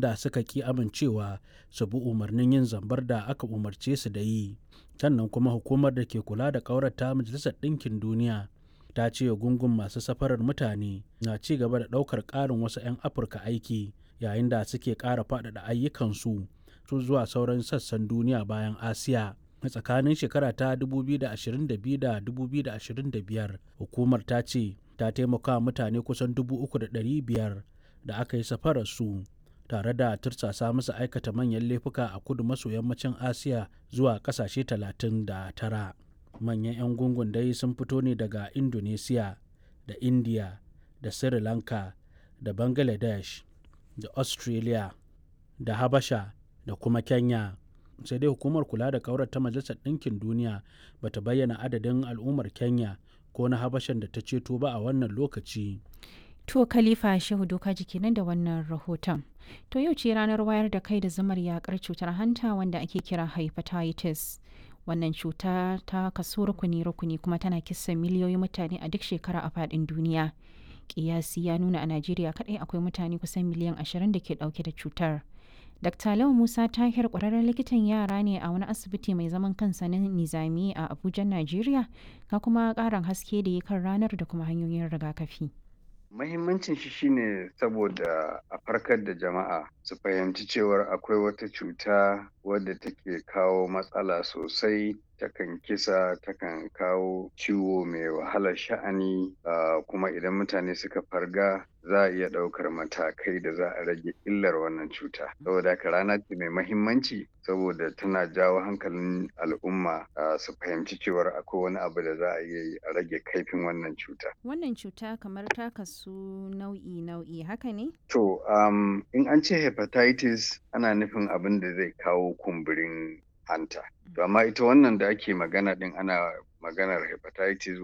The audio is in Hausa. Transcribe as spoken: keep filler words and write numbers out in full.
Da suka ƙi amincewa su bi umarnin yin zambar da aka umarce su da yi. Sannan kuma Hukumar da ke Kula da Ƙaura ta Majalisar Ɗinkin Duniya ta ce gungun masu safarar mutane na ci gaba da ɗaukar ƙarin wasu 'yan Afirka aiki yayin da suke ƙara faɗaɗa ayyukansu zuwa sauran sassan duniya bayan Asiya. A tsakanin shekara ta dubu biyu da ashirin da biyu da dubu biyu da ashirin da biyar, hukumar ta ce ta taimaka mutane kusan dubu uku da ɗari biyar da aka yi safararsu tare da tursasa musu aikata manyan laifuka a kudu maso yammacin Asiya zuwa ƙasashe talatin da tara. Manyan 'yan gungun dai sun fito ne daga Indonesiya da India da Sri Lanka da Bangladesh da Australia da Habasha da kuma Kenya. Sai dai Hukumar Kula da Ƙaurar ta Majalisar Ɗinkin Duniya ba ta bayyana adadin al'ummar Kenya ko na Habashan da ta ceto ba a wannan lokaci. To, Khalifa Shehu Doka kenan da wannan rahoton. To, yau ce ranar wayar da kai da zumar yakar cutar hanta wanda ake kira hepatitis. Wannan cuta ta kaso rukuni-rukuni kuma tana kisan miliyoyin mutane a duk shekara a faɗin duniya. Kiyasi ya nuna a Najeriya kaɗai akwai mutane kusan miliyan ashirin da ke ɗauke da cutar. Dakta Lau Musa Tahir ƙwararren likitan yara ne a wani asibiti mai zaman kansa na Nizami a Abuja, Najeriya, ga kuma ƙarin haske da ya kan ranar da kuma hanyoyin rigakafi. Mahimmancin shi shine saboda a farkar da jama'a su fahimci cewar akwai wata cuta wadda take kawo matsala sosai, takan kisa, takan kawo ciwo mai wahalar sha'ani, uh, kuma idan mutane suka farga za a iya ɗaukar matakai da za a rage illar wannan cuta. Saboda haka rana ce mai mahimmanci saboda tana jawo hankalin al'umma uh, su fahimci cewar akwai wani abu da za a iya yi a rage kaifin wannan cuta. Wannan cuta kamar ta kasu nau'i-nau'i, haka ne? To, um, in an ce hepatitis ana nufin abin da zai kawo kumburin hanta. To amma ita wannan da ake magana din ana maganar hepatitis